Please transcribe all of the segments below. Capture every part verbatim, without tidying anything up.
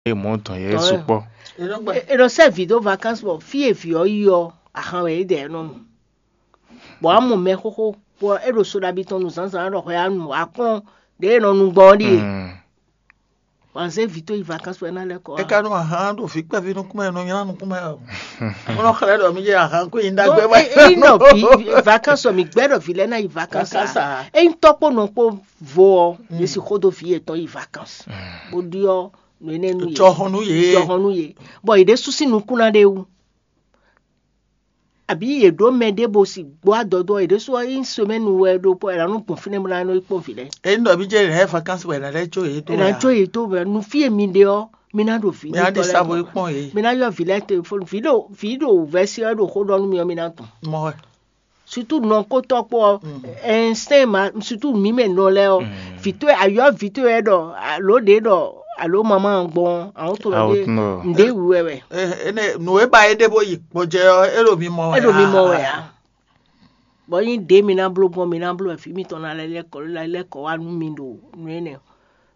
E mɔ̌ dɔn yɛ sukpɔ́. E nɔ sɛ́ vǐ dó vacances bɔ fí e vǐ ɔ́ yi ɔ́, ahan wɛ é dɛ nɔ nu. Bɔ a mɔ mɛ xóxó bɔ é ɖo so ɖabi tɔn nu zǎnzǎn ɖɔ xwe a nu akplɔ́n ɖě e nɔ nu gbɔn ɔ́ ɖíe. Wǎn zé vǐ tó yi vacances wɛ ná lɛ́ kɔ. É ka nú ahan ɖo vǐ kpɛví nukúnmɛ nɔ nylá nukúnmɛ ɔ́. Mɔnɔ xlɛ́ ɖɔ mi jɛ ahan kó yin ɖagbe wɛ. Eyi nɔ vǐ vacances ɔ mi gbɛ ɖɔ vǐ lɛ́ ná yi vacances a. Eyi tɔ́ kpó nɔ kpó vo ɔ́, yě si xó dó vǐ yětɔn yi vacances. Bó ɖyɔ́ nǔ énɛ́ nú yě. Jɔhɔn nú yě. Jɔhɔn nú yě. Bɔ yě ɖésú sín nukún ná ɖe wú. Abǐ yě ɖó mɛ ɖěvo si gbó adɔdó ɔ́, yě ɖésú ɔ́ nyí semɛ́nu wɛ ɖokpó, è nǎ nɔ gbɔn fínɛ́ bó ná nɔ yi kpɔ́n vǐ lɛ́ɛ. Ényí ɖɔ mí jɛ lɛ̌ vacances wɛ è nǎ lɛ́ jó yě tó È nǎ jó yě tó wɛ, nu fí e mi ɖe ɔ́, mi ná ɖo vǐ. Mi ná ɖi sabo kpɔ́n yě. Mi ná yɔ vǐ lɛ́ɛ téléfóni. Vǐ ɖo vǐ ɖo vɛ̌si ɔ́ ɖo xó ɖɔ nú mi ɔ́, mi ná tunwun. Mɔ wɛ. Surtout nɔkótɔ́ kpó ɔ́, ɛnsɛn ma surtout mǐ mɛ nɔ lɛ́ɛ ɔ́, vǐ towe ayɔ vǐ towe wɛ ɖɔ alo ɖě ɖɔ alo mamá gbɔn ɔ́, àwọn tó lɔ Awo ɖé tún lɔ. Ǹdé wú wɛ wɛ. Ene nǔ e ba é ɖe bó yi gbɔjɛ ɔ́, é ɖo mi mɔ wɛ. É ɖo mi mɔ wɛ ǎ. Bɔ nyí ɖě mi ná bló gbɔn mi ná bló wɛ fí mitɔn ná lɛ́ lɛ́ kɔ lɛ́ lɛ́ kɔ wá nú mi ɖo nǔ énɛ́.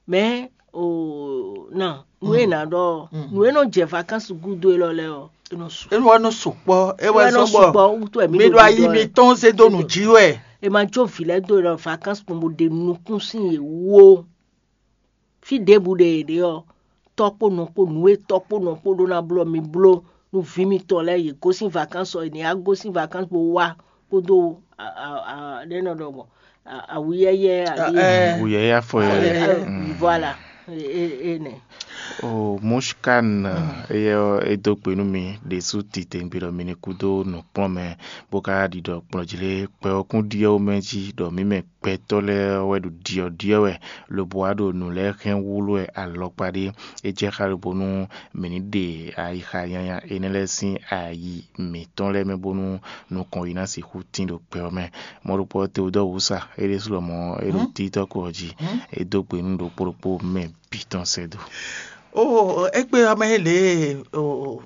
Mɛ o na nú e ná ɖɔ nǔ e nɔ jɛ vacances gúdo élɔ́ lɛ́ɛ ɔ́, é nɔ su. É wá nɔ sukpɔ́, é wá É nɔ sɔgbɔ. Sukpɔ́ wútu wɛ mi Mi ɖo ɖo ayi ɖiɖɔ wɛ. Mitɔn zé dó nǔ jí wɛ. E ma jó vǐ lɛ́ɛ dó ɖɔ vacances kpɔn bó ɖe nukún sín yě wú ó. Fí ɖěbǔ ɖe è ɖe ɔ́, tɔ́ kpó nɔ kpó nǔ e tɔ́ kpó nɔ kpó ɖó ná bló mi bló nú vǐ mitɔn lɛ́ɛ yě gosín vacances ɔ́, è nǐ wá gosín vacances bó wá kpódó a- a- a- ɖě nɔ ɖɔ gbɔn a- awuyɛyɛ ali Ɛ. Wuyɛyɛ afɔ yɛ. Voilà. Enɛ. O Mushkan, eyɛ ɔ, e dó gbe nú mi ɖésú titewungbe ɖɔ mi ní kú dó nǔkplɔ́nmɛ, bó ka ɖiɖɔ kplɔ́njí lé kpɛ ɔ́ kún ɖyɔ́ mɛ jí ɖɔ mǐ mɛ gbɛtɔ́ lɛ́ɛ wɛ ɖo ɖyɔ̌ɖyɔ́ wɛ, lobo wá ɖo nǔ lɛ́ɛ hɛn wlú wɛ alɔkpa ɖé. É jɛ xá ɖo bónú mǐ ní ɖe ayixa nyanya énɛ́ lɛ́ɛ sín ayi mǐtɔn lɛ́ɛ mɛ bónú nukɔn yi ná sixú tín ɖo gbɛ ɔ́ mɛ. Mɔ ɖokpó ɔ́ te wú dó wǔ sa, é ɖésú lɔmɔ̌ é ɖo títɔ́ ko ɔ́ jí. É dó gbe nú ɖokpó ɖokpó mɛ bǐ tɔn sɛ́ dó. O égbé ɔ́ mɛ lě e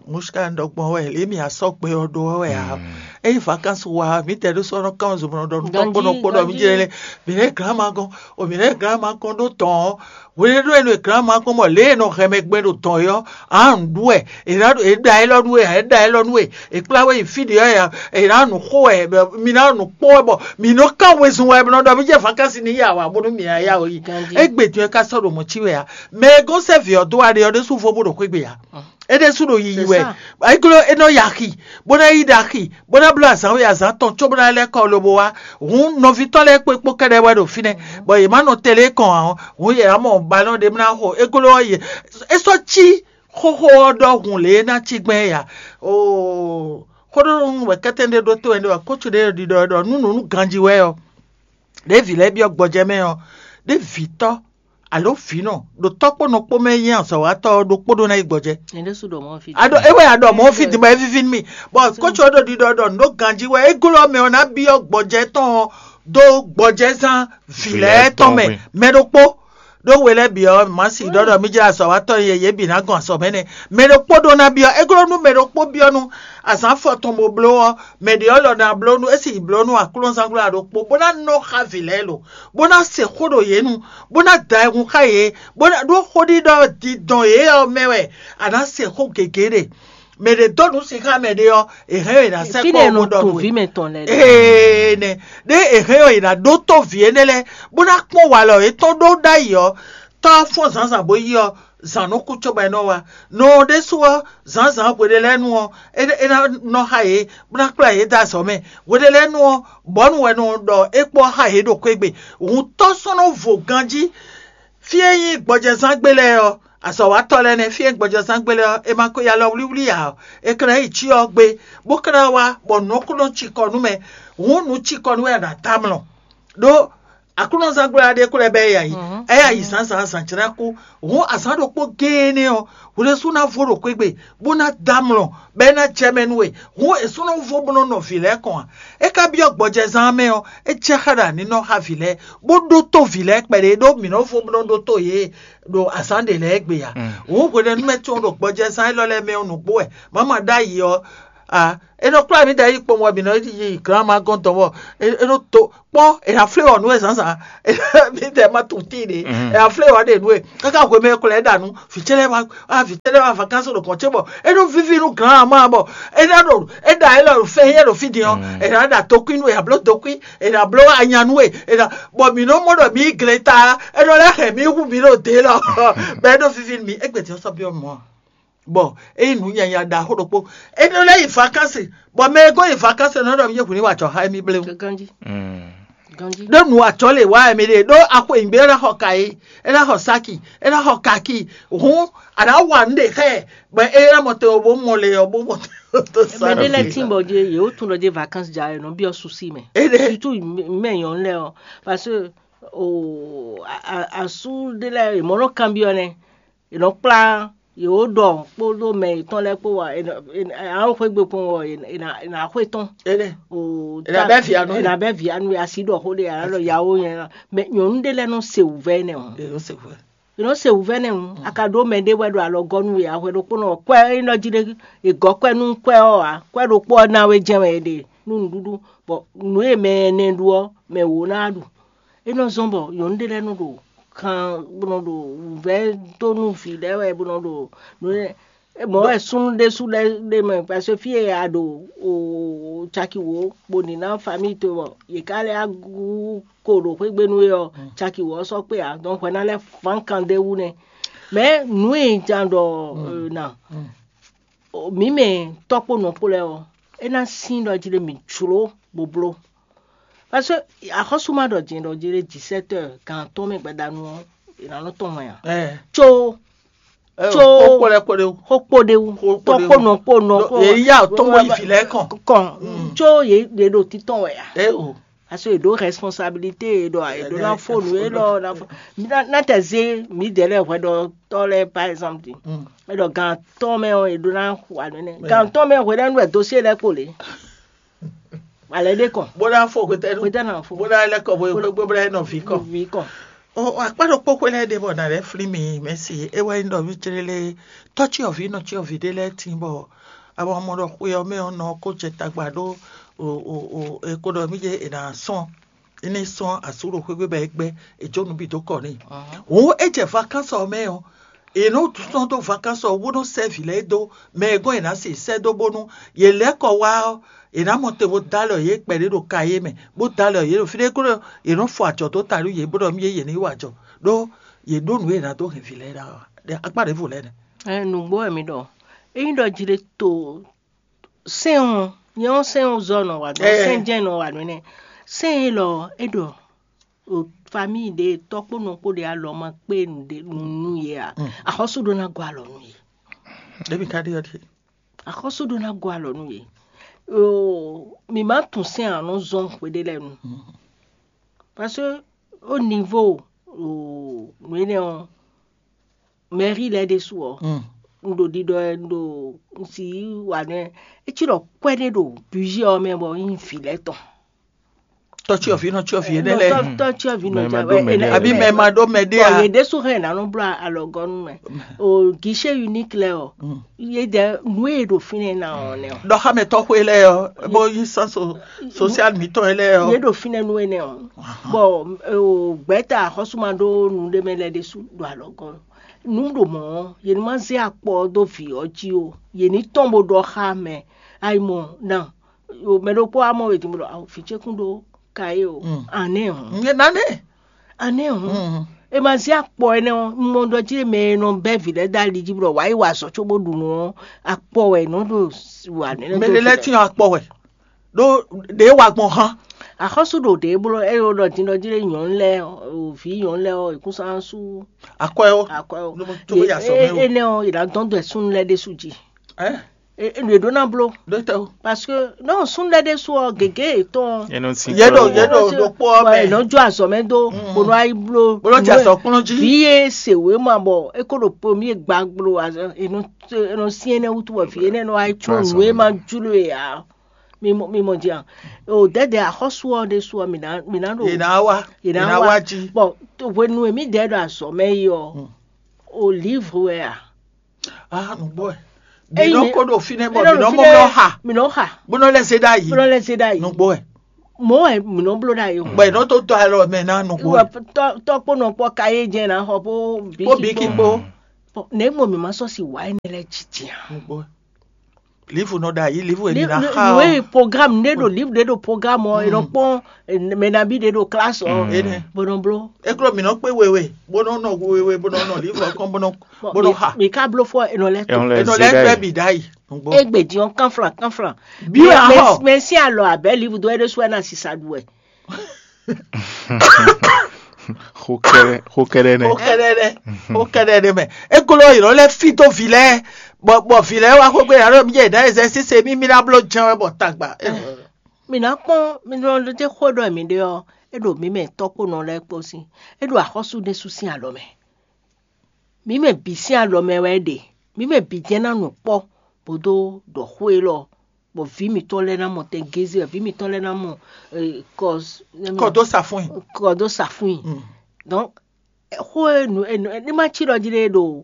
Muska ɖɔ gbɔn wɛ lě mi asɔgbe ɔ́ ɖó ɔ́ wɛ ǎ. Ényí vakansi wa mǐdɛɛ ɖó sɔ́ nɔ kán zobɔnɔ ɖɔ nukɔn kpɔ́ nɔ kpɔ́ ɖɔ mí jɛ lɛ mǐ lɛ́ glǎn ma gɔn o mǐ lɛ́ glǎn ma gɔn ɖó tɔn ɔ́ hwenɛ́ ɖó e nɔ è glǎn ma gɔn bɔ lě e nɔ hɛn mɛ gbɛn ɖo tɔn é ɔ́ ǎ nǔ ɖu wɛ è nǎ ɖo è ɖa élɔ́ nú we ǎ è ɖa élɔ́ nú we è kplá we yi fí ɖě ɔ́ è nǎ nǔ xo wɛ mi ná nǔ kpɔ́n wɛ bɔ mǐ nɔ kán wezun wɛ bɔ nɔ ɖɔ mí jɛ vakansi ní yá wǎ bónú mǐ ná yá wǒ yi égbé din ɔ́ ká sɔ́ ɖo mɔ̌ cí wɛ ǎ. Mɛ e gɔ́n sɛ́ vǐ ɔ́ dó wá ɖe ɔ́ ɖésú vo bó ɖo xwé gbe ǎ. É ɖésú ɖo yiyi wɛ. Ayiklo é nɔ yi axi bó ná yi ɖe axi bó ná bló azǎn we azǎn tɔn cóbó ná lɛ́ kɔ lobo wá. Hǔn nɔví tɔn lɛ́ɛ kpó kpó kɛ́ɖɛ́ wɛ ɖo fínɛ́ bɔ yě má nɔ tɛlé kɔn ǎ ɔ́ hǔn yě ná mɔ balɔ́n ɖé ná xo é gló ɔ́ yě é sɔ́ cí xóxó ɔ́ ɖɔhun lě e ná cí gbɛn é ǎ. Oo xóɖóɖónú wɛ kɛ́tɛ́n ɖé ɖótó ɛnɛ wɛ kócu ɖé ɖiɖɔ ɖɔ nú nǔ nú ganjí wɛ ɔ́ ɖěvi lɛ́ɛ byɔ́ gbɔjɛ́ mɛ ɔ́ ɖěvǐtɔ́ alo vǐnɔ ɖo tɔ́ kpó nɔ kpó mɛ nyí azɔ̌watɔ́ ɔ́ ɖokpó ɖó ná yi gbɔjɛ́. Aɖɔ é wɛ aɖɔ mɔ̌ fí din bɔ é víví nú mì bɔ kócu ɔ́ ɖo ɖiɖɔ ɖɔ nǔ ɖó ganjí wɛ é glɔ́ mɛ ɔ́ ná byɔ́ gbɔjɛ́ tɔn ɔ́ dó gbɔjɛ́zán vǐ lɛ́ɛ tɔn mɛ mɛ ɖokpó. Ɖó we lɛ́ɛ bǐ ɔ́, mǎ si ɖɔ ɖɔ mí jɛ azɔ̌watɔ́ e yě bǐ ná gɔn azɔ̌ mɛ nɛ́. Mɛ ɖokpó ɖó ná byɔ́ é glɔ́ nú mɛ ɖokpó byɔ́ nú azǎn fɔ tɔn bó bló ɔ́, mɛ ɖě ɔ́ lɔ ná bló nú é sì bló nú aklúnɔzángbla ɖokpó bó ná nɔ xá vǐ lɛ́ɛ lo bó ná se xó ɖo yě nu bó ná da ayihun xá yě bó ná ɖó xóɖiɖɔ didɔn yě ɔ́ mɛ wɛ a nǎ se xó gěgé ɖe. Mɛ ɖě dó nǔ sin xá mɛ ɖé ɔ́, è hɛn ɔ́ è nǎ sɛ́ kɔ ɔ́ bó ɖɔ nú we. Ee nɛ ɖé è hɛn ɔ́ è nǎ ɖótó vǐ énɛ́ lɛ́ɛ bó ná kpɔ́n walɔ yětɔn ɖó ɖ'ayǐ ɔ́, tɔ́ ɔ́ fɔ́n zǎnzǎn bó yi ɔ́, zǎn nɔ kú cóbɔ é nɔ wá. Nɔ ɔ́ ɖésú ɔ́, zǎnzǎn hweɖé lɛ́ɛ nu ɔ́, é ná nɔ xá yě bó ná kplá yě dó azɔ̌ mɛ. Hweɖé lɛ́ɛ nu ɔ́, bɔ̌nu wɛ nɔ ɖɔ é kpɔ́ xá yě ɖo xwé gbe. Hǔn tɔ́ sɔ́ nɔ vo ganjí. Fí e nyí gbɔjɛzán gbé lɛ́ɛ ɔ́, azɔ̌watɔ́ lɛ́ɛ nɛ́ fí e gbɔjɛzán gbé lɛ́ɛ ɔ́, è ma ko yi alɔ wlíwlí ǎ ɔ́, è ka ná yi cyɔ ɔ́ gbe, bó ka ná wá bɔ nǔ ɔ́ kó nɔ cikɔ nú mɛ. Hǔn nǔ cikɔ nú wɛ a nǎ tamlɔ. Ɖó Aklúnɔzán gbla ɖé ko lɛ́ bɛ́ é yi ayǐ. É yi ayǐ zǎnzǎn zǎn jlá kú. Hǔn azǎn ɖokpó géé nɛ́ ɔ́, hwlɛ́sú ná vo ɖo xwé gbe, bó ná dɔ́ amlɔ, bɔ é ná jɛ mɛ nú we. Hǔn è sú nɔ vo bó nɔ nɔ vǐ lɛ́ɛ kɔn ǎ. É ka byɔ́ gbɔjɛzán ɔ́ mɛ ɔ́, é jɛ xá ɖo aní nɔ xá vǐ lɛ́ɛ, bó ɖótó vǐ lɛ́ɛ kpɛɖé ɖó mǐ nɔ vo bó nɔ ɖótó yě ɖo azǎn ɖě lɛ́ɛ gbe ǎ. Hǔn hwenɛ́nu mɛ tɔn ɖo gbɔjɛzán élɔ́ lɛ́ɛ mɛ ɔ́ nǔgbó wɛ, má ma ɖ'ayǐ ɔ́, Ah, e nɔ kplá mǐ ɖe yi kpɔ́n wɛ mǐ nɔ yi glan ma gɔn dɔn wɔ. E nɔ to kpɔ́n e na flé wɔ nú e zǎnzǎn. Mǐ ɖe ma tuntín ɖe. E na flé wɔ ɖe nú e káká hwemɛ e kɔ lɛ ɖa nú vǐ ce lɛ́ɛ ma, ah, vǐ ce lɛ́ɛ ma vakansi ɖo kɔn ce bɔ e nɔ víví nú glan ma bɔ e na ɖo e ɖa e lɔ ɖo fɛn yɛ ɖo fí din ɔ́. E na ɖa tokwí nú e na bló tokwí, e na bló anya nú e e na bɔ mǐ nɔ mɔ ɖɔ mǐ yi gleta e nɔ lɛ́ hɛn mǐ hu mǐ ɖo dě lɔ. Bɔ e nɔ víví nú mǐ égbé din ɔ́ sɔ́ byɔ́ mɔ̌. Bɔ ényí nǔ nyanya ɖaxó ɖokpó, é nɔ lɛ́ yi vakansi, bɔ mɛ e gɔ́ yi vakansi nɔ ɖɔ mí yé hu ní wa jɔ xá émí bléwu. Ganji, ganji. Ɖó nǔ ajɔ lè wá émí ɖe ɖó axwe nyǐgbe é ná xɔ kayi, é ná xɔ saki, é ná xɔ kaki. Hǔn a nǎ wa nǔ ɖe xá ɛ, bɔ é ná mɔ te bó mɔ le ɔ́ bó mɔ te tó sa. Mɛ ɖé lɛ́ɛ tín bɔ jɛ yě wó tún ɖɔ jɛ vakansi ja ɛ nɔ byɔ́ susi mɛ. Éɖe. Surtout mɛ nyɔ̌nu lɛ́ɛ ɔ́, parce que o asú ɖé lɛ́ɛ mɔ̌ nɔ kanbyɔ́ nɛ́. È nɔ kplá yě wó ɖɔ kpódó mɛ yětɔn lɛ́ɛ kpó wá. Ǎ xwé gbe kpɔn wɔ è nǎ xwé tɔn. Énɛ́. È nǎ bɛ́ vǐ anú. È nǎ bɛ́ vǐ anú asi ɖɔ xó ɖé ǎ ɖɔ yawó nyɛ. Mɛ nyɔ̌nu ɖé lɛ́ɛ nɔ se wǔvɛ́ nɛ́ hǔn. È nɔ se wǔvɛ́. È nɔ se wǔvɛ́ nɛ́ hǔn. A ka ɖó mɛ ɖé wɛ ɖo alɔ gɔ́ nú we ǎ hwɛ ɖokpónɔ ɔ́, kwɛ́ é nɔ jí ɖé è gɔ́ kwɛ́ nú kwɛ́ ɔ́ ǎ. Kwɛ́ ɖokpó ɔ́ ná we jɛ́n wɛ è ɖe nú nǔɖuɖu, bɔ nǔ e mɛ ɛnɛ ɖu ɔ́, mɛ wǒ ná ɖu. É nɔ zɔ́n bɔ nyɔ̌nu ɖé lɛ́ɛ nɔ ɖo kan bó nɔ ɖo wǔvɛ́ dó nú vǐ lɛ́ɛ wɛ bó nɔ ɖo nǔ lɛ́ɛ. Mɔ̌ wɛ súnnu ɖésú lɛ́ɛ ɖe mɛ, parce que fí e a ɖo caki wǒ bó ní ná famíi towe bɔ yě ká lɛ́ ko ɖo xwégbénu é ɔ́, caki wǒ ɔ́ sɔ́ kpé ǎ. Donc hwɛ ná lɛ́ fán kan d'é wú nɛ́. Mɛ̌ nǔ e un ján ɖɔ na mǐ mɛ tɔ́ kpó nɔ kpó lɛ́ɛ ɔ́, é ná sín ɖɔ jí ɖé mǐ jló bó bló. Parce que axɔ́sú ma ɖɔ jɛ̌n ɖɔ jí ɖé dix-sept heures gan atɔ́ɔ́n mɛ gbadanu ɔ́, è nǎ nɔ tɔn hwɛn ǎ. Có có xó kpó ɖé wú. Xó kpó ɖé wú. Tɔ́ kpó nɔ kpó nɔ kpó. Yě yá ɔ́ tɔ́n bó yi vǐ lɛ́ɛ kɔn. Kɔn có yě yě ɖo títɔn wɛ ǎ. Ɛ o. Parce que yě ɖó responsabilité yě ɖɔ yě ɖó ná fó nǔ yě ɖɔ ná fó. Ná tɛ zé mǐdɛɛ lɛ́ɛ hwɛɖɔtɔ́ lɛ́ɛ par exemple din. É ɖɔ gan atɔ́ɔ́n mɛ ɔ́ yě ɖó ná wa nǔ énɛ́. Gan atɔ́ɔ́n mɛ hwɛɖɛnu wɛ dossier lɛ́ɛ kpo lě. Alɛ ɖé kɔn. Bó ná fo hwetɛ́nu. Hwetɛ́nu ná fo. Bó ná lɛ́ kɔ bó bó bó ná nɔ vǐ kɔn. Vǐ kɔn. O akpá ɖokpó xwé lɛ́ɛ ɖe bɔ nǎ lɛ́ flín mi mɛ̌si é wɛ nyí ɖɔ mí jlé lé tɔ́cyɔvǐ nɔcyɔvǐ ɖé lɛ́ɛ tín bɔ a ma mɔ ɖɔ xwe ɔ́ mɛ ɔ́ nɔ ko jɛ tagba ɖó o o o e ko ɖɔ mí jɛ è nǎ sɔn é ní sɔn asú ɖo xwéxwé bɔ é gbɛ́ è jó nǔ bǐ dó kɔ n'i. Hǔn é jɛ vakánsɔ ɔ́ mɛ ɔ́, è nɔ sɔn dó vakánsɔ ɔ́ bó nɔ sɛ́ vǐ lɛ́ɛ dó mɛ e gɔ́n è nǎ sixú sɛ́ dó bónú yě lɛ́ kɔ wá ɔ́, è nǎ mɔ te bó dó alɔ yě kpɛɖé ɖo ka yé mɛ, bó dó alɔ yě ɖo fí ɖé glɔ́, è nɔ fɔ ajɔ dó ta nú yě bó ɖɔ mí yé yě ní wa ajɔ, ɖó yě ɖó nǔ e è nǎ dó hɛn vǐ lɛ́ɛ ɖa ɔ́. Akpá ɖěvo lɛ́ɛ nɛ́. Ɛ nǔgbó wɛ mi ɖɔ. Ényí ɖɔ jí ɖé to sɛn ɔ́, nyɛ ɔ́ sɛn ɔ́ zɔ nɔ wa dɔn, sɛn jɛ́n nɔ wa nɔ nɛ. Sɛn élɔ́ é ɖɔ o famíyi ɖé tɔ́ kpó nɔ kpó ɖé alɔ ma kpé nǔɖé nú yě ǎ. Axɔ́sú ɖó ná gɔ́ alɔ nú yě. Ɖěbǔ ka ɖe ɔ́ ɖe. Axɔ́sú ɖó ná gɔ́ alɔ nú yě. Oo, mǐ má tunwun sɛn ǎ nɔ zɔn hweɖé lɛ́ɛ nu. Parce que au niveau nǔ énɛ́ ɔ́, mɛ̌ri lɛ́ɛ ɖésú ɔ́, un ɖo ɖiɖɔ wɛ, un ɖo un si yí wa nú ɛ. É cí ɖɔ kwɛ́ ɖé ɖo bǔzí ɔ́ mɛ bɔ nyí vǐ lɛ́ɛ tɔn. Tɔ́cyɔvǐ nɔ cyɔvǐ énɛ́ lɛ́ɛ. Tɔ́cyɔvǐ nɔ cyɔvǐ énɛ́ lɛ́ɛ. Àbí mɛ ma ɖó mɛ ɖé ǎ. Yě ɖésú hɛn ná nɔ bló alɔgɔ́ nú mɛ. O guichet unique lɛ́ɛ ɔ́, yě dɛ nǔ e ɖo fínɛ́ ná ɔ́ nɛ́ ɔ́. Ɖɔ xámɛtɔ́ xwé lɛ́ɛ ɔ́, bó yí sán social mǐtɔn lɛ́ɛ ɔ́. Yě ɖo fínɛ́ nú énɛ́ ɔ́. Bɔ o gbɛ̌ta axɔ́sú ma ɖó nǔ ɖé mɛ lɛ́ɛ ɖésú ɖo alɔgɔ́. Nǔ ɖo mɔ̌ ɔ́, yě ní má zé akpɔ ɔ́ dó vǐ ɔ́ jí o. Yě ní tɔ́n bó ɖɔ xá mɛ. Ayi mɔ ná. Mɛ ɖokpó wá mɔ wě din bó ɖɔ awu vǐ ce kún ɖó kayé o. Anɛ́ hɔn. Nyɛ nanɛ. Anɛ́ hɔn. E ma zé akpɔ énɛ́ ɔ́, un mɔ ɖɔ jí mɛ e nɔ bɛ́ vǐ lɛ́ɛ dó ali jí bó ɖɔ wǎ yi wa azɔ̌ cóbó ɖu nǔ ɔ́, akpɔ wɛ è nɔ ɖo wa nɛ́. Mɛ ɖé lɛ́ɛ tín akpɔ wɛ. Ɖó ɖě wa gbɔn hán. Axɔ́sú ɖo ɖě bló é ɖo ɖɔ din ɖɔ jí ɖé nyɔ̌nu lɛ́ɛ ɔ́, vǐ nyɔ̌nu lɛ́ɛ ɔ́, è kún sán sú Akwɛ ó. Akwɛ ó. Ló mɔ tó bó yà sɔ mɛ ó. Énɛ́ ɔ́, è nǎ dɔn dó ɛ súnnu lɛ́ɛ ɖésú jí. Ɛ? È ɖó ná bló. Ɖó tɛ ó. Parce que non, súnnu lɛ́ɛ ɖésú ɔ́, gěgé yětɔn. Yɛ ɖo yɛ ɖo ɖokpó ɔ́ mɛ. È nɔ jó azɔ̌ mɛ dó, bó nɔ ayi bló. Bó nɔ jɛ azɔ̌ kplɔ́n jí. Vǐ e se wě ma bɔ é kó ɖo pomi e gba gblo azɔ̌ è nɔ é nɔ syɛ́n énɛ́ wútu bɔ vǐ énɛ́ nɔ ayi tún nǔ e ma jló e ǎ. Mi mɔ mi mɔ jí a. O dɛdɛ axɔ́sú ɔ́ ɖésú ɔ́ mi ná mi ná ɖo. Yě ná wá. Yě ná wá jí. Bɔn hwenu e mí dɛ ɖo azɔ̌ mɛ yi ɔ́, o livre wɛ a. Ah, nǔgbó ɛ. Mǐ nɔ ko ɖo fínɛ́ bɔ mǐ nɔ mɔ nɔ xa, mǐ nɔ xa, bó nɔ lɛ́ zé ɖ'ayǐ, bó nɔ lɛ́ zé ɖ'ayǐ. Nǔgbó wɛ. Mɔ̌ wɛ mǐ nɔ bló ɖ'ayǐ o. Bɔ è nɔ tó dɔ́ alɔ mɛ ná nǔgbó wɛ. Tɔ́ tɔ́ kpó nɔ kpɔ́ ka é jɛ́n ná xɔ bó bǐ Kpó bǐ kí kpó. Nɛ̌ gbɔn mǐ ma sɔ́ si wǎ énɛ́ lɛ́ɛ jijɛ ǎ? Nǔgbó wɛ. Livu nɔ ɖ'ayǐ, livu e mǐ ná xa ɔ́. Programme ɖé ɖo livu ɖé ɖo programme ɔ́, è nɔ kpɔ́n mɛ nabí ɖé ɖo klasi ɔ́, bó nɔ bló. É kló mǐ nɔ kpé wewe, bó nɔ nɔ wewe, bó nɔ nɔ livu ɔ́ kɔn, bó nɔ bó nɔ xa. Mǐ ka bló fɔ è nɔ lɛ́ tó. È nɔ lɛ́ tó ɛ bǐ ɖ'ayǐ. Nǔgbó. Égbè din ɔ́ kánflan kánflan. Bí wɛ a xɔ. Mɛ sín alɔ abɛ livu dó é ɖésú wɛ ná sisa ɖu wɛ. Xó kɛɖɛ nɛ. Xó kɛɖɛ nɛ. Xó kɛɖɛ nɛ mɛ. Églɔ́ yě nɔ lɛ́ fí dó vǐ lɛ́ɛ, bɔ bɔ vǐ lɛ́ɛ wá xwé gbé yǎ ɖɔ mí jɛ ɖǎ zɛ síse mí mí ná bló jɛ́n wɛ bɔ tagba. Mǐ ná kpɔ́n mí nɔ ɖe xó ɖɔ mǐ ɖe ɔ́, é ɖo mǐ mɛ tɔ́ kpó nɔ lɛ́ɛ kpó sín, é ɖo axɔ́sú ɖésú sín alɔ mɛ. Mǐ mɛ bǐ sín alɔ mɛ wɛ é ɖe. Mǐ mɛ bǐ jɛ́n ná nɔ kpɔ́ bó dó ɖɔ xó élɔ́, bɔ vǐ mǐtɔn lɛ́ɛ ná mɔ tɛngézé, vǐ mǐtɔn lɛ́ɛ ná mɔ kɔ kɔ dó sa fún i. Kɔ dó sa fún i. Donc xó e nǔ e nǔ e ní ma cí ɖɔ jí ɖé ɖo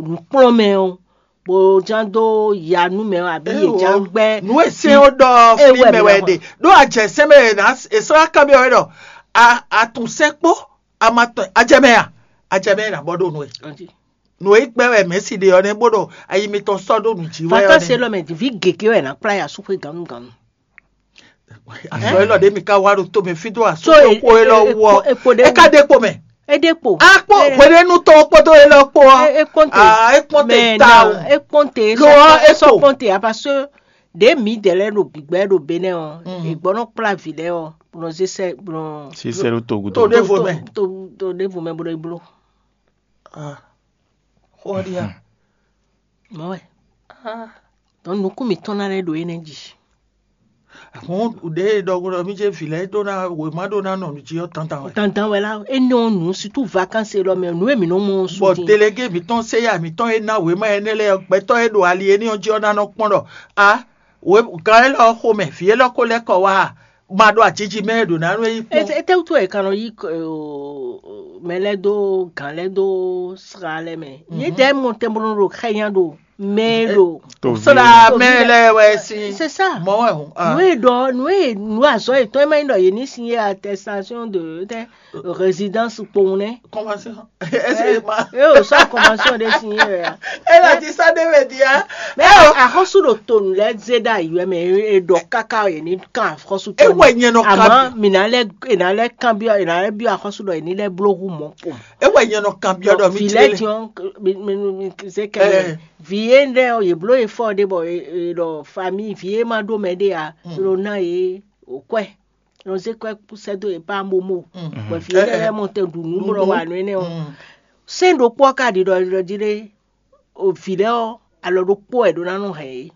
nǔkplɔ́nmɛ ɔ́, bó ján dó ya nú mɛ ɔ́, abǐ yě ján gbɛ́ nǔ e sɛ́n ó ɖɔ flí mɛ wɛ ɖe. Ɖó ajɛ sɛ́n mɛ è sɔ́ ná kanbyɔ́ wɛ ɖɔ a a tun sɛ́n kpó a ma tɔn a jɛ mɛ a a jɛ mɛ ná bɔ ɖo nú we. Nǔ e gbɛ́ wɛ mɛ̌si ɖe ɔ́ nɛ́ bó ɖɔ ayi mitɔn sɔ́ ɖó nǔ jí wɛ ɔ́ Vacances nɛ́. Élɔ́ mɛ vǐ gěgé wɛ ná kplá ya súxwé gannú gannú. Azɔ élɔ́ ɖě mi ka wá ɖo tómɛ fí dó asú So, tó e- kó e- élɔ́ e- wú ɔ. E kpo ɖe é ka ɖe kpo mɛ. E ɖe kpo. Akpó hwenɛ́nu tɔn kpódó élɔ́ kpó ɔ. E- e kpɔnte. Ah, e kpɔnte Mais ta non, o. E kpɔnte. Lo ɔ, e sɔ kpo. Kpɔnte a parce que ɖe mi dɛ lɛ ɖo gbigbɛ ɖo Bénin ɔ. Mhm. E gbɔ nɔ kplá vi lɛ ɔ. Nɔ zé sɛ nɔ. Si sɛ ɖo togu Tó tó. Ɖe vo mɛ. To to ɖe vo mɛ blo blo. Ah, xɔ ɖi a. Mɔ wɛ. Ah. Donc nukún mǐtɔn ná lɛ́ ɖo énɛ́ jí. Hɔn ɖe ɖɔgblɔ mi jɛ vi lɛ ɖó ná wema ɖó ná nɔ jí ɔ tantan wɛ. Dandan wɛ la, énɛ́ ɔ́ nǔ surtout vacances lɔ mɛ nǔ e mǐ nɔ mɔ ɔ́ Bɔ su din. Délégué mǐtɔn séya mǐtɔn e ná wema énɛ́ lɛ́ɛ gbɛtɔ́ e ɖo ali énɛ́ ɔ́ jí ɔ́ ná nɔ kpɔ́n ɖɔ a wě gan élɔ́ xomɛ vǐ élɔ́ ko lɛ́ kɔ wá a ma ɖo ajiji mɛ e ɖo ná nú é yí kpɔ́n. Etɛwutu e kan nɔ yí mɛ lɛ́ dó gǎn lɛ́ dó sra lɛ́ mɛ. Yě dɛ mɔ tɛnbɔnɔ ɖo xɛnya ɖo mɛ ɖo. Sra mɛ lɛ́ wɛ sin. C'est ça. Mɔ wɛ hɔn. Nǔ e ɖɔ nǔ e nǔ azɔ yětɔn e ma nyí ɖɔ yě ní signé attestation de tɛ résidence kpowun nɛ. Convention. Est-ce que ma. E o sɔ convention ɖe signé wɛ ya. E la ti sa ɖe mɛ dia. Mɛ axɔsu ɖo tonu lɛ zé ɖe ayi wɛ mɛ e ɖɔ kaka yě ní kan axɔsu tɔn. E wɛ nyɛ nɔ kan. Àmọ́ mǐ ná lɛ è ná lɛ kan byɔ è ná lɛ byɔ axɔsu ɖɔ è ní lɛ bló hu mɔ kpɔn. E wɛ nyɛ nɔ kan byɔ ɖɔ mi vi ti lɛ lɛ. Tiɔn mi mi mi se kɛ Eh. Vi yé ɖe yě bló yě fɔ ɖe bɔ è ɖɔ famille vi yé ma ɖó mɛ ɖe ya ɖo ná yě òkwɛ. Nɔ zé kwɛ sɛ́ dó yě pa momo. Bɔ vi yé ɖe lɛ mɔ tɛ ɖu nǔ blɔ wa nɔ énɛ́ ɔ́. Sɛ́n ɖokpó ɔ́ ka ɖi ɖɔ ɖɔ jí ɖé o vǐ lɛ́ɛ ɔ́ alɔ ɖokpó wɛ ɖó ná nɔ hɛn yě.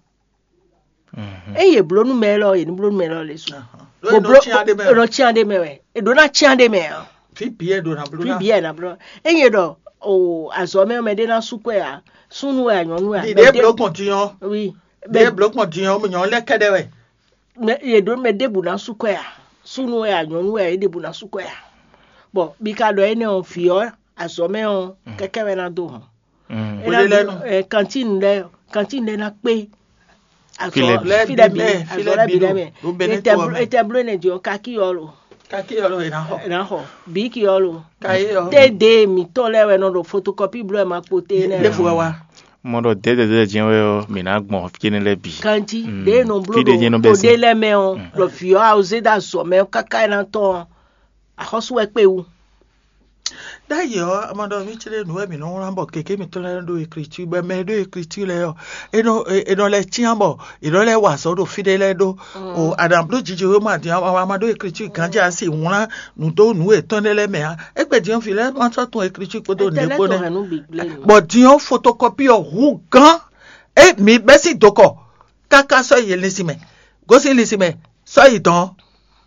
Ényí yě bló nú mɛ élɔ́ yě ní bló nú mɛ élɔ́ lě su. Ɖó Bó é nɔ bló cyán ɖé mɛ. É nɔ cyán ɖé mɛ wɛ. É ɖó ná cyán ɖé mɛ ǎ. Fi bǐ ɛ ɖo na bló Fi ná. Bǐ ɛ ná bló. Ényí è ɖɔ o azɔ̌ mɛ mɛ ɖé ná sú kwɛ ǎ. Súnnu wɛ ǎ, nyɔ̌nu wɛ ǎ. Ɖi mɛ ɖě bló gbɔn din ɔ́. Oui. Ɖě bló gbɔn din ɔ́, nyɔ̌nu lɛ́ kɛ́ɖɛ́ wɛ. Mɛ yě ɖó mɛ ɖěbǔ ná sú kwɛ ǎ. Súnnu wɛ ǎ, nyɔ̌nu wɛ ǎ, yě ɖěbǔ ná sú kwɛ ǎ. Bɔ mi ka ɖɔ énɛ́ ɔ́, vǐ ɔ́ azɔ̌ mɛ ɔ́ kɛ́kɛ́ wɛ ná dó hɔn. Hwelélɛ́nu. Kantine lɛ́ɛ kantine lɛ́ɛ ná kpé. Azɔ Filɛ bi. Filɛ bi Filɛ bi azɔ lɛ́ bi lɛ́ mɛ. Ɖo Bɛnɛ Etɛ to ɔ́ mɛ. Etɛ blo ne jɔ kaki ɔ́ lo. Kaki ɔ́ lo e ná xɔ. E ná xɔ biki ɔ́ lo. Kayi ɔ́. Te de mitɔn lɛ́ɛ wɛ nɔ ɖo photocopie blo ɛ ma kpo te nɛ. Ɖe fo wa. Mɔ ɖɔ dɛdɛdɛ jɛn wɛ ɔ mǐ ná gbɔn fíjɛnɛ lɛ́ɛ bǐ. Kanji Mm. de nɔ blo Fi ɖe jɛn nɔ ɖo bɛ to se. De lɛ mɛ ɔ lɔ vi ɔ awo zé ɖe azɔ mɛ kaka e ná tɔn ɔ axɔsu wɛ kpe wu. Ɖ'ayǐ ɔ́, a ma ɖɔ mì clé nǔ wɛ mǐ nɔ wlán bɔ gěgé mǐtɔn lɛ́ɛ ɖó ekriti bɔ mɛ e ɖó ekriti lɛ́ɛ ɔ́, é nɔ é nɔ lɛ́ cyán bɔ è nɔ lɛ́ wa azɔ̌ ɖo fí ɖé lɛ́ɛ ɖó. O a nǎ bló jiji wéma din a ma ɖó ekriti ganjí a sì wlán nǔ dó nǔ yětɔn ɖé lɛ́ɛ mɛ ǎ. Égbé din ɔ́, vǐ lɛ́ɛ ma sɔ́ tunwun ekriti kpódó nǔɖé kpó nɛ́. Bɔ din ɔ́, fotokɔpi ɔ́ hú gán. É mǐ bɛ́ sín dokɔ káká sɔ́ yi linsin mɛ, gosín linsin mɛ, sɔ́ yi dɔ̌n.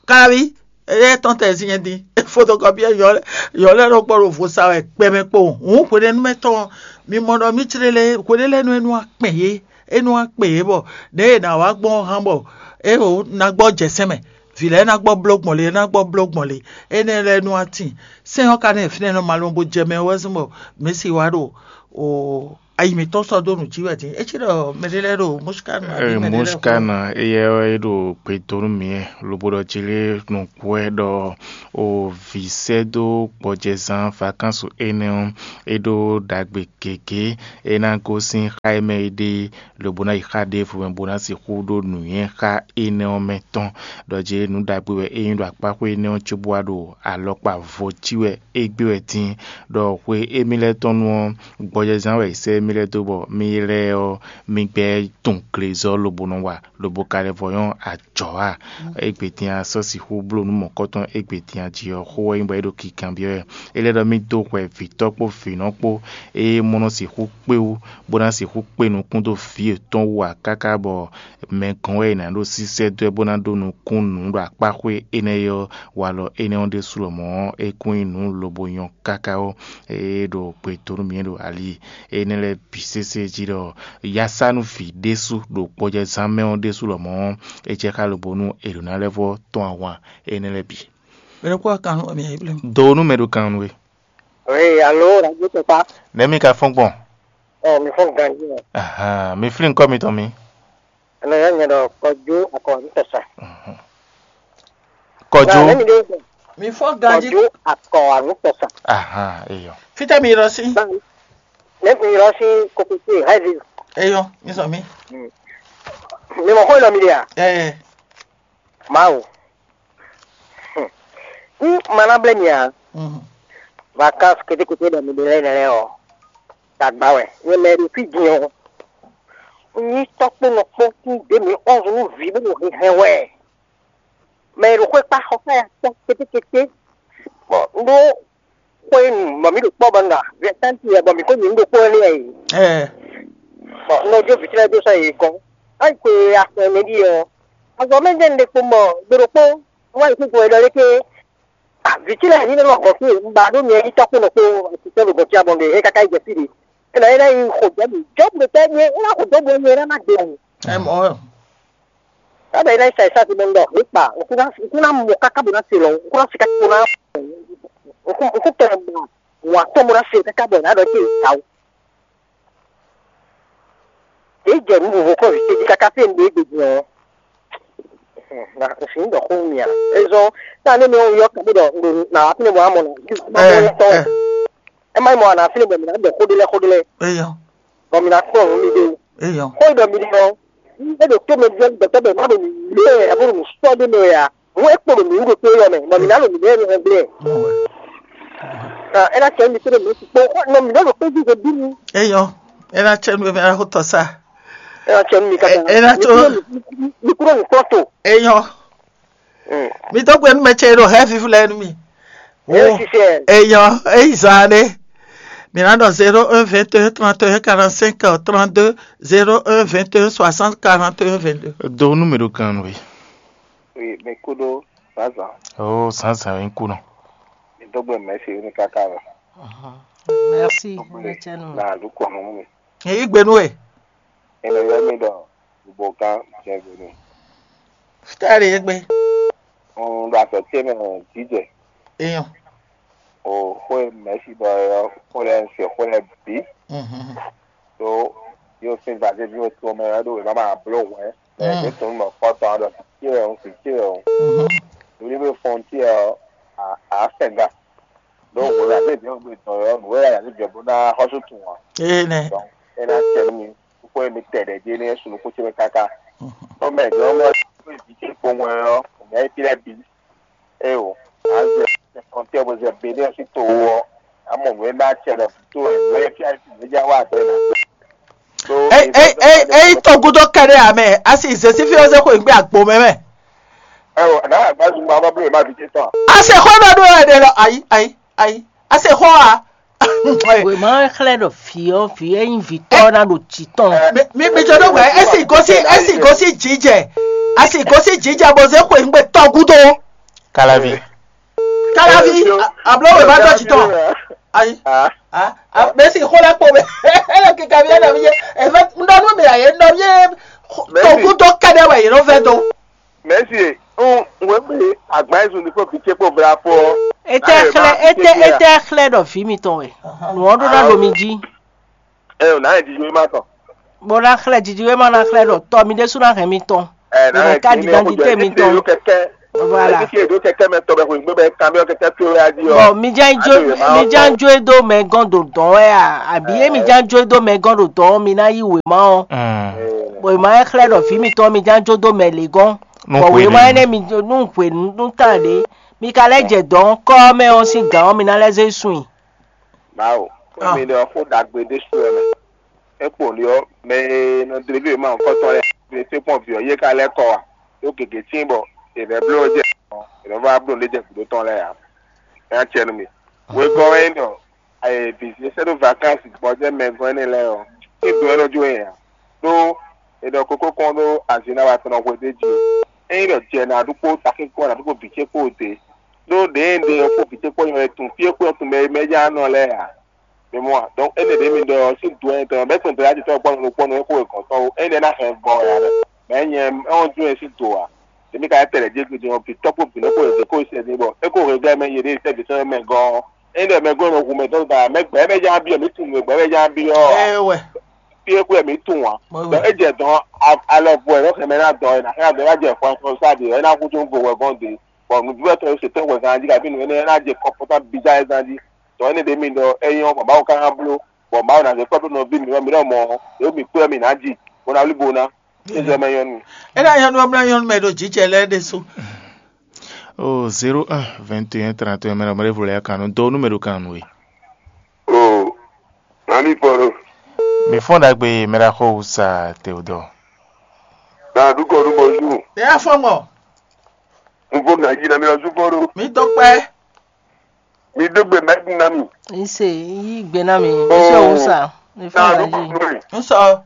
Káví éyɛ́ tɔn tɛ sín nyɛ dín fotokɔpi ɛ yɔ lɛ yɔ lɛ nɔ kpɔ ɖo vo sa wɛ kpɛmɛ kpo hǔn hwenɛ́nu mɛ tɔn mi mɔ ɖɔ mì clé lɛ hwenɛ́ lɛ́ɛ nú é nú akpɛn yé é nú akpɛn yé bɔ nɛ̌ è nǎ wá gbɔn hán bɔ é o ná gbɔ jɛ sɛn mɛ vǐ lɛ́ɛ ná gbɔ bló gbɔn lé ná gbɔ bló gbɔn lé énɛ́ lɛ́ɛ nú atin sɛn ɔ́ ka nɛ fínɛ́ nɔ malɔn bo jɛ mɛ wɛ zɔn bɔ mɛ̌si wá ɖo o ayi mǐtɔn sɔ́ dó nǔ jí wɛ din. É cí ɖɔ mɛɖé lɛ́ɛ ɖo Muskana, abǐ mɛɖé lɛ́ɛ xo. Muskana, éyɛ́ wɛ é ɖo gbe dó nú mǐ wɛ, lobo ɖɔ jí lé nukún wɛ ɖɔ o vǐ sɛ́ dó gbɔjɛzán vakansu énɛ́ ɔ́, é ɖó ɖagbe gěgé. É ná gosín xá e mɛ é ɖe, lobo ná yi xá ɖěvo mɛ bó ná sixú ɖó nǔnywɛ́ xá énɛ́ ɔ́ mɛ tɔn. Ɖɔ jí nǔ ɖagbe wɛ é nyí ɖo akpáxwé énɛ́ ɔ́ cóbó wá ɖo alɔkpa vo jí wɛ égbé wɛ din, ɖɔ xwe émí lɛ́ɛ tɔn nu ɔ́, gbɔjɛzán wɛ è sɛ́ émí lɛ́ɛ dó bɔ mí lɛ́ɛ ɔ́, mí gbɛ́ tun glezɔ́ lobo nɔ wa, lobo ka lɛ́ vɔ nyɔ́ ajɔ̌ a? Égbé din a sɔ́ sixú bló nǔ mɔ̌kɔtɔn égbé din a jí ɔ́, xó wɛ nyí bɔ é ɖo kikanbyɔ́ wɛ. É lɛ́ ɖɔ mí dó hwɛ vǐtɔ́ kpó vǐnɔ kpó, ée mɔ nɔ sixú kpé wú, bó ná sixú kpé nukún dó vǐ yětɔn wú ǎ, káká bɔ mɛ gɔ́n wɛ è nǎ ɖó sísɛ́ dó ɛ bó ná ɖó nukún nǔ ɖo akpáxwé énɛ́ ɔ́, walɔ énɛ́ ɔ́ ɖésú lɔmɔ̌ ɔ́, é kún nyí nǔ lobo nyɔ́ káká ɔ́, é ɖo gbe dó nú mì ɖo ali énɛ́ lɛ́ɛ bǐ sésé jí ɖɔ yásánúví ɖésú ɖo gbɔjɛzán mɛ ɔ́ ɖésú lɔmɔ̌ ɔ́, é jɛ xá lobo nú è ɖǒ ná lɛ́ vɔ́ tɔ́n ahwan énɛ́ lɛ́ɛ bǐ. Mɛ ɖokpó wá kan nú mì ayǐ blɛ́. Do nú mɛ ɖo kan nú we. Ee, alo, radio tɔkpa. Nɛ̌ mi ka fɔ́n gbɔn? Ɔ, mi fɔ́n ganjí ɔ. Ahan, mi flín kɔ́ mitɔn mi. Ɛnɛ yɛ nyɛ ɖɔ kɔjú akɔ anutɔsa. Kɔjú. Nɛ mi ɖe gbɔ. Mi fɔ ganji. Kɔjú akɔ anutɔsa. Ahan, eyɔ. Fitɛ mi yɔrɔ si. Nɛ mi yɔrɔ si kokete haivi. Eyɔ, mi sɔ mi. Mi mɔ xɔ nɔ mi ɖe a? Ɛɛ. Mawu. N ma na blɛ mi a. Vacances kétékété ɖɔ mi ɖe lɛ nɛ lɛ ɔ. Dagba wɛ. Nyɛ mɛ ɖo fi din ɔ. N yi tɔkpɔnɔ kpɔn kún de mi onze nu vi bó ɖo hɛhɛ wɛ. Mɛ e ɖo xwé kpa xɔ ká ya kpɔ́n kétékété. Bɔn un ɖó xwé nu bɔ mǐ ɖo kpɔ́ bɔ un ɖo vɛsɛnti wɛ bɔ mǐ ko nyi nǔ ɖokpó énɛ́ wɛ yi. Bɔn un nɔ jó vǐ ce lɛ́ɛ dó sɔ́ yě gɔ́n. Á yi xwe axɔn ɛnɛ ɖíe ɔ́, azɔ̌ mɛ jɛ́n un ɖe kpo mɔ gbe ɖokpó, un wá yi xwé gbe wɛ ɖɔ léké. Vǐ ce lɛ́ɛ ní nɔ gɔ̌n fí un ba ɖó nyɛ yi tɔ́ kpó nɔ kpó asisɛ́n ɖo gɔ̌n ce abɔn ɖe é káká yi jɛ fí ɖé. É nɔ é ná yi xo dɔ̌ bǐ. Jɔ́bu ɖo tɛ́ nyɛ é ná xo dɔ̌ bǔ ɔ́ nyɛ é ná ná gbe wǔ. Ɛ mɔ ɔ́. Kábɛ̌ é ná yi sa yi sá ti mɔ un ɖɔ hě kpa un kún ná mɔ káká bó ná se lɔ un kún ná se káká bó ná un kún un kún kɛ ba wǎn tɔn bó ná se káká bɔ è nǎ ɖɔ cé ta o. Yě jɛ nǔ vovo kɔn vǐ ce jí káká fí e un ɖe é gbe din ɔ́. Na un sì ń ɖɔ xó nú mi ǎ. É zɔ́n tá ní mi ɔ́ un yɔ kɛ́ bó ɖɔ un ɖo nǎ wá fínɛ́ bɔ ná mɔ nǎ. Ɛ ɛ. É má nyí mɔ wǎ ná fínɛ́ bɔ mǐ ná ɖɔ xó ɖé lɛ́ɛ xó ɖé lɛ́ɛ. Eyɔ. Bɔ mǐ ná kplɔ́n nǔ mi ɖé. Eyɔ. Xó e ɖɔ mi ɖe ɔ́, é ɖo tó mɛ byɔ́ gbɛtɔ́ bɔ è má ɖo nǔ lé ɛ bó ɖo nǔ sɔ́ ɖé mɛ wɛ ǎ. Hǔn é kpo ɖo mǐ wú ɖo tó élɔ́ mɛ, bɔ mǐ ná ɖo nǔ lɛ́ɛ mɛ gblé ɛ. Ɛ ná cɛ mì tónú mǐ kpó xɔ nɔ mǐ ɖɔ ɖo kpé jí hwe bí mi. Eyɔ, é ná cɛ nú mɛ ná xó tɔ sá. Ɛ ná cɛ nú mi káká. Ɛ ná tó. Mi kúrò ní kplɔ́ to. Eyɔ. Mi tó gbé nú mɛ ce ɖo hɛ fífú lɛ nú mi. Ɛ sisɛ. Eyɔ, eyi zɔ aɖe. Mi ná ɖɔ zéro un vingt et un trente et un quarante-cinq trente-deux, zéro un vingt et un soixante quarante et un vingt-deux. Do nú mi ɖo kan nú we. Oui, mi kú ɖó zǎnzǎn. Ó, zǎnzǎn wɛ nyí kú nɔ. Mi dó gbe mɛ̌si ní káká lɔ. Merci, Mɛtsɛnu. Na lukɔ nɔ mi. Yí gbe nú we. Ene yɔ mi ɖɔ gbogán jɛ gbe nú. Fitali yé gbe. N ɖo afɔ tse mɛ jíjɛ. Eyɔn. O xwe mɛ̌si ɖɔ yɔ xwe lɛ se xwe lɛ bǐ. Mhm. So yóò sín gbàdé bí o tó mɛ ɔ́ ɖó wěma ma bló hwɛ̌. Ɛ Mm. Jésù ń lọ kpɔ́tɔ́ ɖɔ vǐ ce wɛ òun, vǐ ce wɛ òun. Mhm. Ɖo ní bó fɔn tí ɔ, à á fɛn gá. Ɖó wǒ la lé dě wɛ gbé dɔn ɔ́, nǔ wɛ yà ní jɛ bó ná xɔ́sú tún ǎ. Ee nɛ. Donc é ná cɛ nú mi, kókó e mi tɛ ɖɛ jí énɛ́ sunu kú ce mɛ káká. Ɖó mɛ jɔ mɛ ɔ́, vǐ ce kpowun ɛ ɔ́, mɛ é tlɛ bí. Eo, azɛ kɔntɛ bɔ zɛ be ne ɔsi to wɔ, amɔ nue ma cɛ lɔ to ɛ nue fia fi ne ja wa bɛ na. Ei ei ei ei tɔgúdó kɛɖɛ amɛ asi zesi fi ɔsɛ xo igbe agbo mɛ mɛ. Eo, na agba zun ma ma blo ma vi te tɔ. Ase xɔ nɔ ɖo ɛɖɛ lɔ ayi ayi ayi ase xɔ a. Wema xlɛ ɖɔ vi ɔ vi ɛ nyi vi tɔ na ɖo dzi tɔn. Mi mi jɔ ɖo wɛ esi gosi esi gosi jijɛ asi gosi jijɛ bo ze xo igbe tɔgúdó. Kalavi. Kalavi ablɔ wɛ ba dɔ titɔ ayi a mɛsi xɔ la kpɔ bɛ ɛlɛ kika bi ɛlɛ mi ye ɛfɛ ŋdɔ nu mi aye ŋdɔ mi ye tɔku dɔ kɛdɛ wɛ yɛrɛ fɛ do. Mɛsi n wɛ pe agba ezu ni fɔ bi tse kpɔ bla fɔ. Ete xlɛ ete ete xlɛ dɔ vi mi tɔn wɛ nuwɔ ɖo na ɖo mi dzi. Ɛ ò nǎ nyɛ jiji wéma tɔn. Bó ná xlɛ́ jiji wéma ná xlɛ́ ɖɔ tɔ mi ɖésú ná hɛn mi tɔn. Ɛ nǎ Bó nyɛ ká jiji wéma didantité mi tɔn. Kɛkɛ. Voilà. Ɛdí fi èdó kɛkɛ mɛ tɔbɛ xwe gbé bɛ kamiɔ kɛkɛ tó ya jí ɔ. Bɔn mi ján jó Aɖo yě ma mi ɔ ján tɔn. Jó e dó mɛ gɔn ɖo dɔn wɛ a? Àbí émi ján jó e dó mɛ gɔn ɖo dɔn ɔ́, mi ná yí wěma ɔ́. Mm. Bɔn è ma wɛ xlɛ́ ɖɔ vǐ mitɔn mi ján jó dó mɛ lě gɔ́n. Nú Bɔn xwe wěma nɛ́. Énɛ́ mi jó nú hwe nú ta ɖě. Mi ka lɛ́ jɛ dɔ̌n kɔ́ ɔ́ mɛ ɔ́ sín gǎn ɔ́, mi ná lɛ́ zé sun i. Mawu, Ah. Mi ɖɔ xó ɖagbe ɖésú wɛ mɛ. É kpo li ɔ́, mɛ e nɔ dlé ɖo ma ŋkɔtɔn lɛ́ɛ, ɖe té kpɔn vǐ ɔ́ yě ka lɛ́ kɔ wá, ɖó gěgé tíin bɔ è vɛ́ bló jɛ, è nɔ vá bló lé jɛ gǔdo tɔn lɛ́ɛ ǎ. É ná cɛ nú mi. Wegɔ́ wɛ nyí ɖɔ vǐ sɛ́ ɖó vakansi gbɔjɛ́ mɛ gɔ́n énɛ́ lɛ́ɛ ɔ́, é dó ɛ́ nɔ jó nya, ɖó è ɖɔ kókó kɔn ɖó azǐnnáwa tɔn nɔ hwe d'é jí. Ényí ɖɔ jɛ nǎ ɖu kpó takín kpó nǎ ɖu kpó vǐ ce kpó ɖě, ɖó ɖěe ɖe ɔ́ kpó vǐ ce kpó nyɔ wɛ tunwun fí e kpó tunwun mɛ e mɛ ján nɔ lɛ́ɛ ǎ. Mi mɔ a? Donc énɛ́ ɖě mi ɖɔ ɔ́ sín do ɛnɛ tɔn bɛ́ tɔn bɛ́ ajitɔ́ kpɔ́ nɔ kpɔ́ nɔ é kó wɛ gɔ̌n tɔn ó. Énɛ́ ná hɛn gɔ́ wɛ ǎ ɖɔ mɛ̌ nyɛ ɔ́ jó ɛ sín do ǎ. Ɖě mi ka lɛ́ tɛ lɛ̌ jégbe din ɔ́, vǐ tɔ́ kpó vǐ nɔ kpó wɛ vǐ kó sɛ din bɔ é kó hwegɛ́ mɛ yě ɖe sɛ́ vǐ tɔn mɛ gɔ́n ɔ́. Énɛ́ ɖɔ mɛ gɔ́n nɔ hu mɛ tɔn da mɛ gbɛ̌ mɛ ján byɔ́ mǐ tunwun mɛ gbɛ̌ mɛ ján byɔ́ ǎ. Ɛ wɛ. Fí e xwé mǐ tunwun ǎ. Mɔ̌ Ɖɔ wɛ. É jɛ dɔn alɔ vo wɛ nɔ xɛmɛ ná dɔn é ná xɛn adɔn é ná jɛ xwan tɔn sá ɖě ɔ́ é ná húzú go wɛ gɔ́n ɖě. Bɔ nǔvívɛ́ tɔn e se tɛ́nwe gán jí kabi nǔ énɛ́ ná jɛ kɔ́fɔ́tán bíjá é gán jí. Dɔn énɛ́ ɖě mi ɖɔ é nyɔ́ bɔ Mawu ka ná bló, bɔ Mawu ná zé kɔ́ ɖó nɔví mǐ wɛ mǐ ɖɔ mɔ̌, ɖě mǐ kpé wɛ mǐ ná ji, bó ná wlí bo ná. É zɛ mɛ nyɔ́nu. É ná nyɔ́nu ɔ́ mlá nyɔ́nu mɛ ɖo jǐ ce lɛ́ɛ ɖésú. O zéro un vingt et un trente et un mɛ ɖɔ mɛ ɖěvo lɛ́ɛ kan nú dó nú mɛ ɖo kan nú we. O mami pɔɖo. Mi fɔ́n ɖagbe mɛ ɖaxó Wusa Teodɔ. Na dúkɔ nú bɔ zu. Ɛ fɔ́n mɔ. Un fo gǎn jí na mi lɔ sú pɔɖo. Mi dó kpɛ́. Mi dó gbe mɛ na mi. Ise yí gbe ná mi. Ise òun sà. Mi fún Na wa dúkɔ yìí. Nú mi. Ń sọ.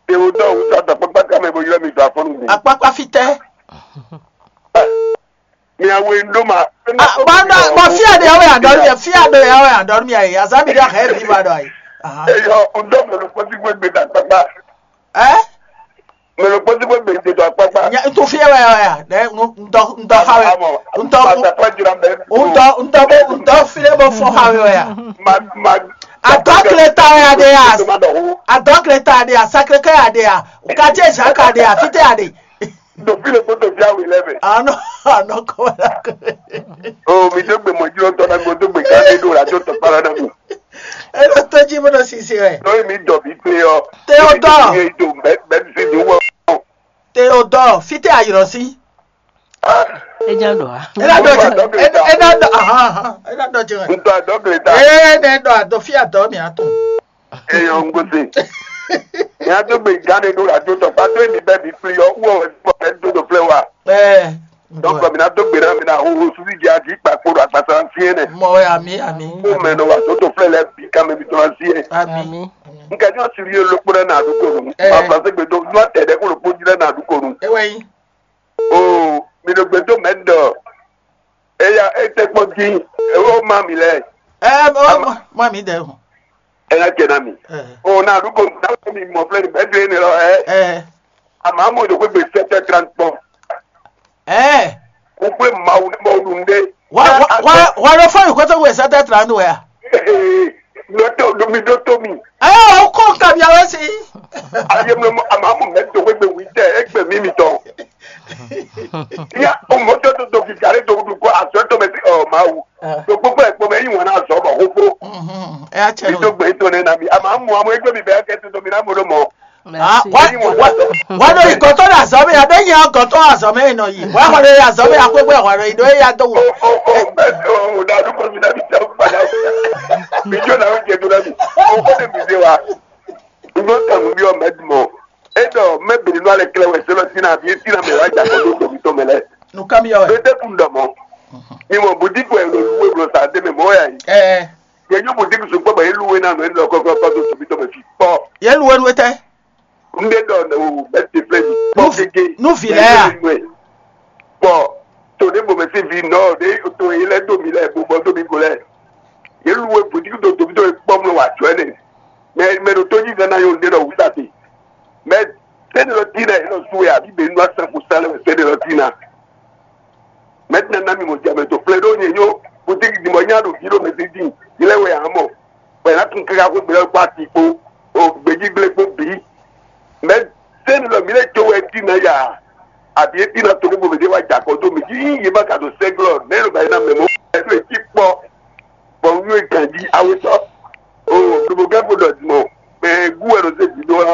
Teodɔ Wusa dɔ kpakpá ká mɛ bó ylɔ́ mi dɔ afɔnu mi. Akpákpá fi tẹ́. Mi awo e ɖó ma. Ah, bɔ nɔ bɔ fia de yawe adɔri mi fia de yawe adɔri mi ayi azabi de ahɛ bi ba dɔ ayi. Eyɔ ŋdɔ mɛ ló kpɔtí gbé gbé dá kpakpá. Ɛ. Mɛ ló kpɔtí gbé gbé gbé dá kpakpá. Nya ŋutɔ fia wɛ ya ya dɛ ŋutɔ ŋutɔ ha wɛ. Ŋutɔ ŋutɔ ŋutɔ bɛ ŋutɔ file bɔ fɔ ha wɛ ya. Ma ma. Adɔ kle ta wɛ ya de ya. Adɔ kle ta de ya sakre kɛ ya de ya. Kati ezaka de ya fite ya de. Ɖo fí ɖokpó to fí awe lɛ́ɛ mɛ. Anɔ anɔ kɔ wɛ la kɔ. O mi dó gbe mɔjúlɔ tɔ na mi dó gbe gán mi ɖo la tó tɔkpá la na mi. Elo tó jí bó ɖo sisi wɛ. Lórí mi dɔ mi pé ɔ. Teodɔ. Mi do bɛ bɛ ti di wɔ. Teodɔ fite ayɔrɔ sí. Ejá ɖɔ á. Ena dɔ jẹ ena dɔ ahan ahan ena dɔ jẹ. Ntɔ adɔ kele ta. Ee ne dɔ adɔ fi adɔ mi ato. Eyɔ ŋgose. Mía dó gbe gán ɖé ɖó la dó tɔkpá tó emi bɛ́ mi fli ɔ́ wú ɔ́ wɛ bɔ mɛ dó ɖo flɛ́ wa. Ɛɛ. Donc mi ná dó gbe ná mi ná hoho susu jɛ adi kpa kpo ɖo agbasa fiɛn nɛ. Mɔ wɛ ami ami. Kó mɛ nɔ wa tó tó flɛ́ lɛ bi ká mɛ mi tó asi yɛ. Ami. Ami. Nka jɔ siri yɛ lókpó ɖe na àdúgbò nu. Ɛɛ. Ma fla se gbe dó nua tɛ ɖe kó lókpó jí ɖe na àdúgbò nu. Ewɛ yi. Oo, mi ɖo gbe dó mɛ ɖɔ. Eya e tɛ kpɔn dín. Ewo ma mi lɛ. Ɛɛ o ma mi dɛ o. Eya jɛ na mi. Ɛɛ. O na ɖu ko na mi mɔ flɛ ni bɛ dé ne lɔ ɛ. Ɛɛ. Ama mo ɖo ko gbe sɛtɛ trant kpɔn. Ɛɛ. Ko kple mawu ne mawu ɖu nde. Wa wa wa wa ɖo fɔ yi kɔtɔ wɛ sɛtɛ trant wɛ a. Nɔ to ɖo mi ɖo to mi. Ɛɛ o ko kabi awɛ si. Ayi mlɔ mɔ ama mo mɛ to ko gbe wi tɛ e gbe mi mi tɔ. Ya o mɔ to to to ki gare to du ko asɔ to mɛ si ɔ mawu. To gbogbo ɛ kpɔ mɛ yi wɔn na zɔ bɔ ko fo. Ɛ a cɛ. Mi to gbe to ne na mi ama mo amo egbe mi bɛ kɛ to to mi na mo do mɔ. Wa wa wa do yi gɔtɔ na zɔ mi a do yi gɔtɔ azɔ mɛ yi nɔ yi wa kɔ do yi azɔ mi a kpekpe wa do yi do yi a do wo. O o o mɛ o o da du ko mi na mi tɛ o kpa na o. Mi jo na o jɛ do na mi o ko de mi de wa. N ɖo tɔnu byɔ́ mɛ dun mɔ. É ɖɔ mɛ bǐ nínú alɛ klɛ́ wɛ sélɔ sín abǐ é sín amɛ wá jà kɔ ɖó tɔmítɔn mɛ lɛ́ɛ. Nukamiɔ wɛ. Pétɛ́ kun ɖɔ mɔ̌. Mi mɔ bǔdíkù wɛ lo lu wé bló sa dé mɛ mɔ̌ wɛ a yi. Ɛɛ. Yɛ nyɔ bǔdíkù sukpɔ́ bɔ é lu wé ná nɔ é nɔ kɔ́kɔ́ kɔ́ dó tɔmítɔn mɛ fi kpɔ́. Yɛ lu wé nu wé tɛ. Un ɖe ɖɔ o bɛ te flɛ mi. Kpɔ́ kéke. Nu vi lɛ ya. Bɔ to ɖé bo mɛ sí vi nɔ ɖé to yi lɛ do mi lɛ bo bɔ do mi go lɛ. Yɛ lu wé bǔdíkù tó tɔmítɔn mɛ kpɔ́ mlɔ wà jɔ ɛ nɛ. Mɛ mɛ ɖo tó jí gánná yóò ɖe ɖɔ wúta te. Mɛ sɛ́ni lɔ tí náà yɛ lɔ sú wɛ àbí bɛ nú asán kó sálẹ̀ wɛ sɛ́ni lɔ tí náà. Mɛ tɛ́ ná mi mɔ jɛ mɛ tó flɛ ɖó nyɛ nyó butiki di mɔ nyá ɖo ví ɖo mɛ sí dín yi lɛ wɛ ǎ mɔ. Bɔ yɛ ná tún káká kó gbé lɔ kpó ati kpó. o gbějígblé kpó bǐ. Mɛ sɛ́ni lɔ mǐ lɛ́ jó wɛ dina ya, àbí é dina to ɖěvo mǐ ɖé wá jɛ akɔ dó mǐ jí yí yě má ka ɖo sɛ́glɔ́ mɛ ɖo bǎyìí ná mɛ mɔ ɛ ɖo etí kpɔ bɔ nú é ganjí awetɔ